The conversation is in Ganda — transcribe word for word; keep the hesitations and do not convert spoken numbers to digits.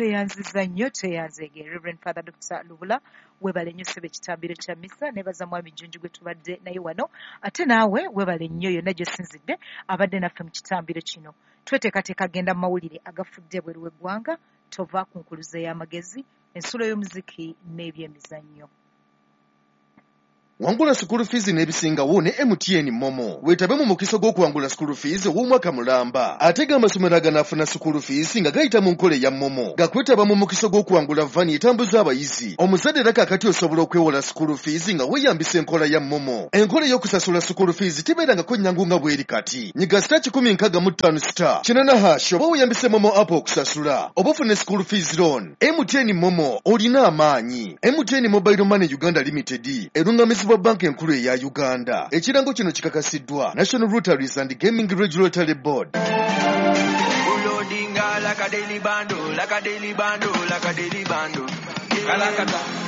Tweyanziza nnyo, tweyanzeege. Reverend Father Doctor Lubula, webale nnyo ssebo ekitambiro kya misa. Nebaza mwami Jjunju gwe tubadde naye wano, ate naawe webale nnyo yonna gy'osinzidde abadde naffe mu kitambiro kino. Tweteekateeka genda mu mawulire agafudde ebweru w'eggwanga. Tova ku nkuluze y'amagezi, ensulo y'omuziki n'ebyemizannyo. Wangula school fees n'ebisingawo ne M T N MoMo. Weetabe mu mukisa gw'okuwangula school fees ow'omwaka mulamba. Ate g'amasomero aganaafuna school fees nga gayita mu nkola eya MoMo gakwetaba mu mukisa gw'okuwangula van etambuza abayizi. Omuzadde era kaakati osobola okwewola school fees nga weeyambisa enkola ya MoMo. Enkola ey'okusasula school fees tebeerangako nnyangu nga bw'eri kati. Nyiga star kikumi nkaaga mu ttaano star kinaana hash oba weeyambise MoMo app okusasula oba ofune school fees loan. M T N MoMo, olina amaanyi. M T N Mobile Money Uganda Limited erungamizibwa Banka Enkulu eya Uganda. Ekirango kino kikakasiddwa National Lotteries and Gaming Regulatory Board. Loadinga like a daily bando, like a daily bando, like a daily bando. Kalakata.